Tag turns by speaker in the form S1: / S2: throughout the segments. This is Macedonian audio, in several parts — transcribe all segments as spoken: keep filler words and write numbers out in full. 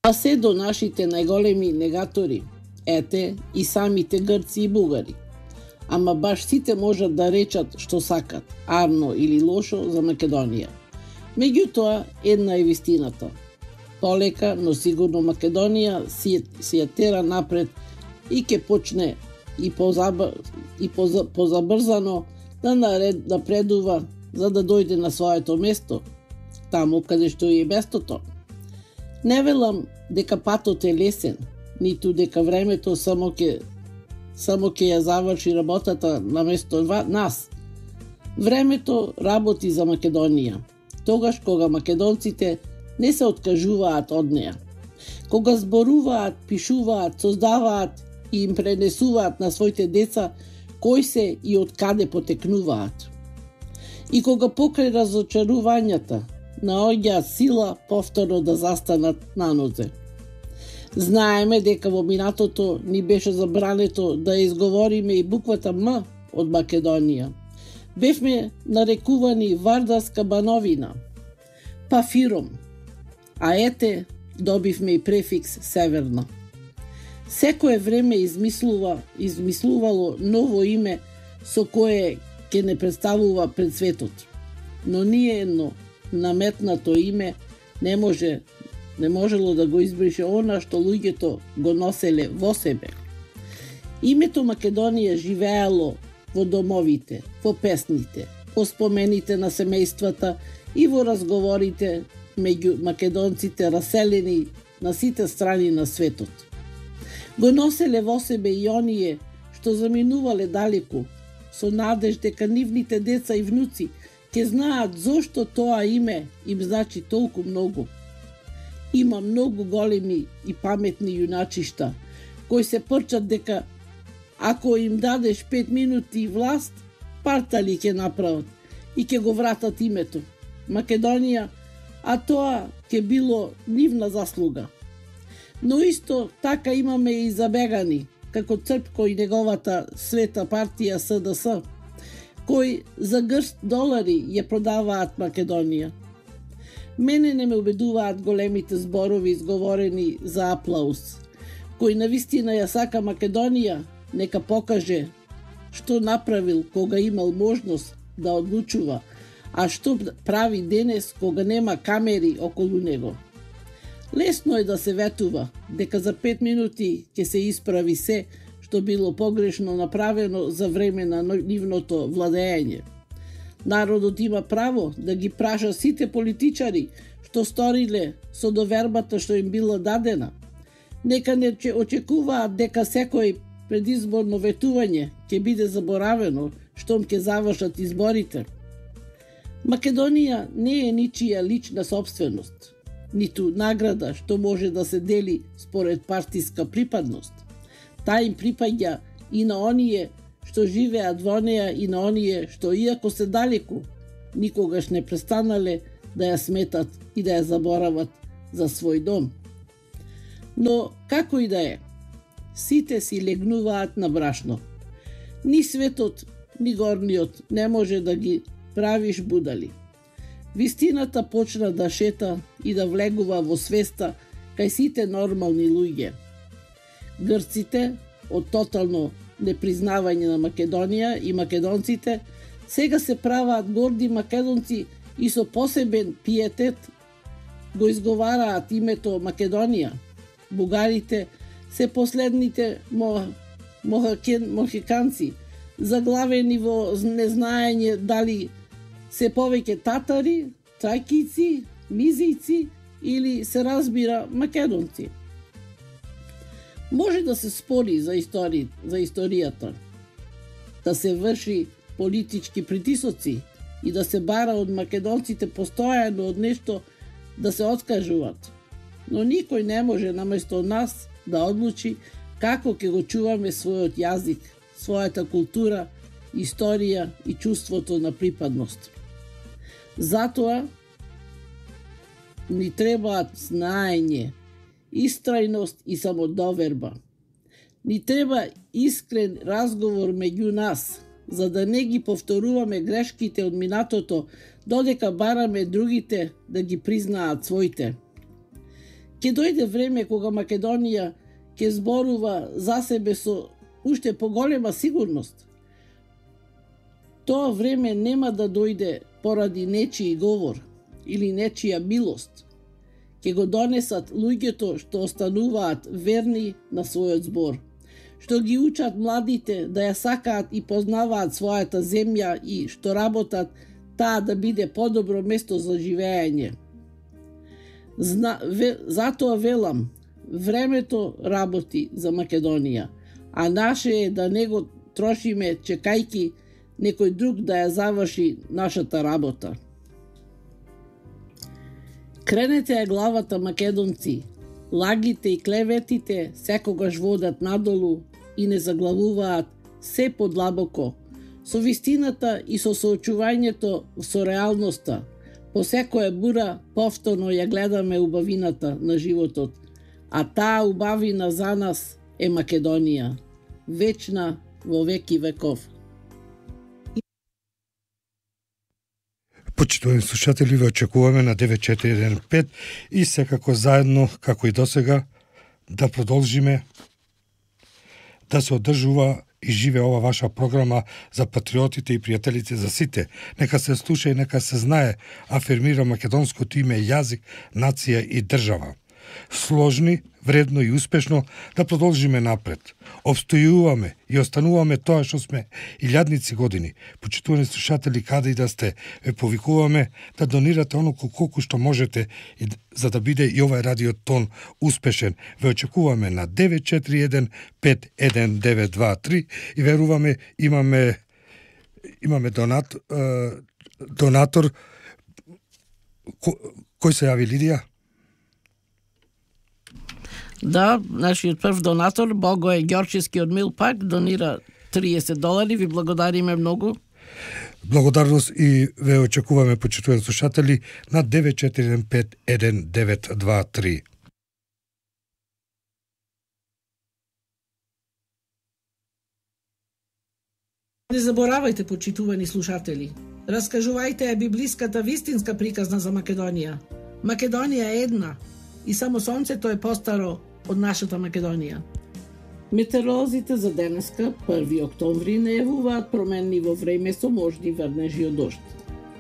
S1: па се до нашите најголеми негатори, ете и самите грци и бугари. Ама баш сите можат да речат што сакат, арно или лошо за Македонија. Меѓутоа, една е вистината. Полека, но сигурно Македонија си, си ја тера напред и ќе почне и, позаб... и поза... позабрзано да наред... напредува за да дојде на своето место, таму каде што е местото. Не велам дека патот е лесен, ниту дека времето само ќе само ќе ја заврши работата на место нас. Времето работи за Македонија, тогаш кога македонците не се откажуваат од неа. Кога зборуваат, пишуваат, создаваат и им пренесуваат на своите деца кои се и од каде потекнуваат. И кога покрај разочарувањата наоѓаат сила повторно да застанат на нозе. Знаеме дека во минатото ни беше забрането да изговориме и буквата М од Македонија. Бевме нарекувани Вардарска бановина, па Фиром, а ете добивме и префикс Северна. Секое време измислува, измислувало ново име со кое ќе не представува пред светот. Но ние едно наметнато име не може не можело да го избрише она што луѓето го носеле во себе. Името Македонија живеело во домовите, во песните, во спомените на семејствата и во разговорите меѓу македонците раселени на сите страни на светот. Го носеле во себе и оние што заминувале далеку, со надеж дека нивните деца и внуци ќе знаат зошто тоа име им значи толку многу. Има многу големи и паметни јуначишта, кои се прчат дека ако им дадеш пет минути власт, партали ќе направат и ќе го вратат името Македонија, а тоа ќе било нивна заслуга. Но исто така имаме и забегани, како Црпко и неговата света партија С Д С, кои за грст долари ја продаваат Македонија. Мене не ме убедуваат големите зборови изговорени за аплауз. Кој навистина ја сака Македонија, нека покаже што направил кога имал можност да одлучува, а што прави денес кога нема камери околу него. Лесно е да се ветува дека за пет минути ќе се исправи се што било погрешно направено за време на нивното владење. Народот има право да ги праша сите политичари што сториле со довербата што им била дадена. Нека не очекуваат дека секој предизборно ветување ќе биде заборавено штом ќе завршат изборите. Македонија не е ничија лична собственост, ниту награда што може да се дели според партиска припадност. Таа им припаѓа и на оние што живеат во неа и на оние што иако се далеку, никогаш не престанале да ја сметат и да ја заборават за свој дом. Но како и да е, сите си легнуваат на брашно. Ни светот, ни горниот не може да ги правиш будали. Вистината почна да шета и да влегува во свеста кај сите нормални луѓе. Грците, од тотално непризнавање на Македонија и македонците, сега се праваат горди македонци и со посебен пиетет го изговараат името Македонија. Бугарите се последните мохакен, мохиканци, заглавени во незнаење дали се повеќе татари, тракици, мизици или се разбира македонци. Може да се спори за, истори, за историјата, да се врши политички притисоци и да се бара од македонците постојано од нешто да се откажуваат. Но никој не може наместо нас да одлучи како ќе го чуваме својот јазик, својата култура, историја и чувството на припадност. Затоа ни требаат знаење, истрајност и самодоверба. Ни треба искрен разговор меѓу нас, за да не ги повторуваме грешките од минатото, додека бараме другите да ги признаат своите. Ке дојде време кога Македонија ќе зборува за себе со уште поголема сигурност. Тоа време нема да дојде поради нечiji говор или нечија милост. Ке го донесат луѓето што остануваат верни на својот збор, што ги учат младите да ја сакаат и познаваат својата земја и што работат таа да биде подобро место за живење. Зна, ве, затоа велам, времето работи за Македонија, а наше е да не го трошиме чекајки некој друг да ја заврши нашата работа. Кренете ја главата, македонци, лагите и клеветите секогаш водат надолу и не заглавуваат се подлабоко, со вистината и со соочувањето со реалноста. По секоја бура повторно ја гледаме убавината на животот, а таа убавина за нас е Македонија, вечна во веки веков.
S2: Почитувани слушатели, ве очекуваме на девет четири еден пет и секако заедно, како и досега, да продолжиме да се одржува и живе ова ваша програма за патриотите и пријателите за сите. Нека се слуша и нека се знае, афирмира македонското име, јазик, нација и држава. Сложни, вредно и успешно да продолжиме напред. Обстојуваме и остануваме тоа што сме илјадници години. Почитувани слушатели, каде и да сте, ве повикуваме да донирате оноку колку што можете и за да биде и овај радиотон успешен. Ве очекуваме на девет четири еден пет еден девет два три и веруваме имаме имаме донат, е, донатор ко, кој се јави, Лидија?
S1: Да, нашиот прв донатор, Богој Ѓорчевски од Милпак, донира триесет долари, ви благодариме многу.
S2: Благодарност и ве очекуваме, почитувани слушатели, на девет четири еден пет еден девет два три.
S1: Не заборавајте, почитувани слушатели. Раскажувајте ја библиската вистинска приказна за Македонија. Македонија е една и само сонцето е постаро од нашата Македонија. Метеоролозите за денеска, први октомври, најавуваат промени во време со можни врнежи од дожд.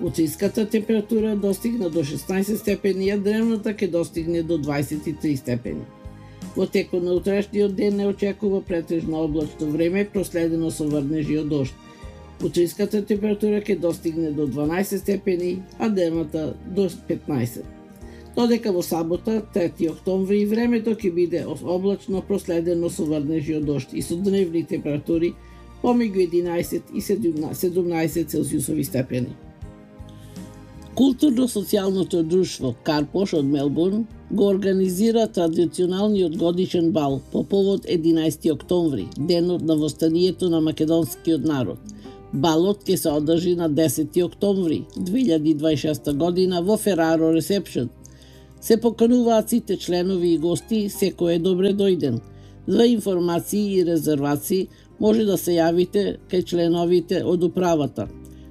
S1: Утринската температура достигна до шеснаесет степени, а дневната ќе достигне до дваесет и три степени. Во текот на утрешниот ден не очекува претежно облачно време, проследено со врнежи од дожд. Утринската температура ќе достигне до дванаесет степени, а дневната до петнаесет. Додека во сабота, трети октомври, времето ќе биде облачно, проследено со врнежи од дожд и со дневни температури помеѓу единаесет и седумнаесет целзиусови степени. Културно-социјалното друштво Карпош од Мелбурн го организира традиционалниот годишен бал по повод единаесети октомври, денот на востанието на македонскиот народ. Балот ќе се одржи на десети октомври две илјади дваесет и шеста година во Фераро Ресепшн. Се покануваат сите членови и гости, секој е добре дојден. За информации и резервации може да се јавите кај членовите од управата.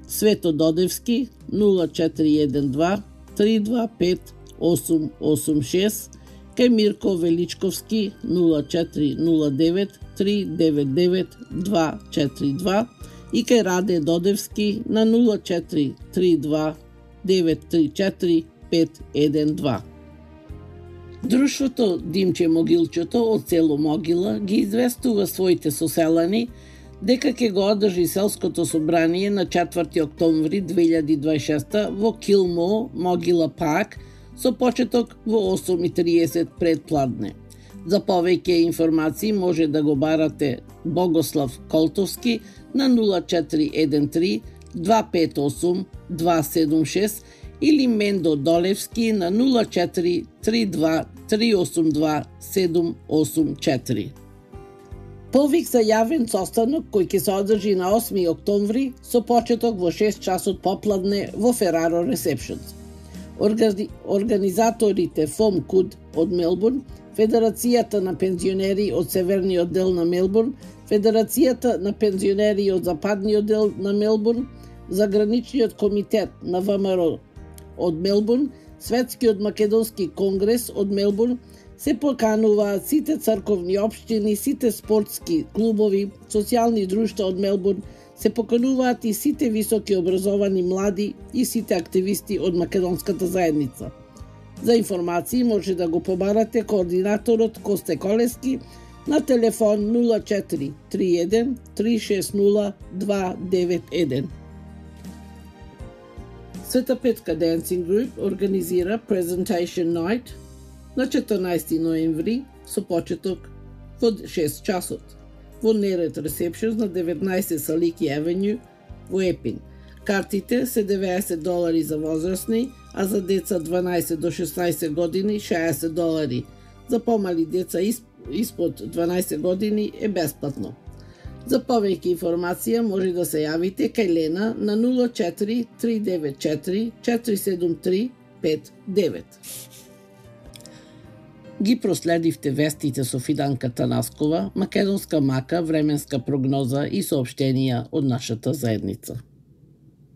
S1: Свето Додевски нула четири еден два три два пет осум осум шест, кај Мирко Величковски нула четири нула девет три девет девет два четири два и кај Раде Додевски на нула четири три два девет три четири пет еден два. Друштвото Димче Могилчето од село Могила ги известува своите соселани дека ќе го одржи селското собрание на четврти октомври две илјади дваесет и шеста во Килмо, Могила Парк, со почеток во осум и триесет пред пладне. За повеќе информации може да го барате Богослав Колтовски на нула четири еден три два пет осум два седум шест или Мендо Долевски на нула четири три два три осум два седум осум четири. Повик за јавен состанок кој ќе се одржи на осми октомври со почеток во шест часот попладне во Фераро Ресепшн. Органи... Организаторите ФОМ КУД од Мелбурн, Федерацијата на пензионери од Северниот дел на Мелбурн, Федерацијата на пензионери од Западниот дел на Мелбурн, Заграничниот комитет на ВМРО од Мелбурн, Светскиот македонски конгрес од Мелбурн се покануваат сите црковни општини, сите спортски клубови, социјални друштва од Мелбурн, се покануваат и сите високи образовани млади и сите активисти од македонската заедница. За информации може да го побарате координаторот Косте Колески на телефон нула четири три еден три шест нула два девет еден. Света Петка Dancing Group организира Presentation Night на четрнаесети ноември со почеток во шест часот во Нерет Receptions на деветнаесет Салики Авеню во Епин. Картите се деветдесет долари за возрастни, а за деца дванаесет до шеснаесет години шеесет долари. За помали деца испод дванаесет години е бесплатно. За повеќе информација може да се јавите кај Лена на нула четири три девет четири четири седум три пет девет. Ги проследивте вестите со Фиданка Танаскова, македонска мака, временска прогноза и соопштенија од нашата заедница.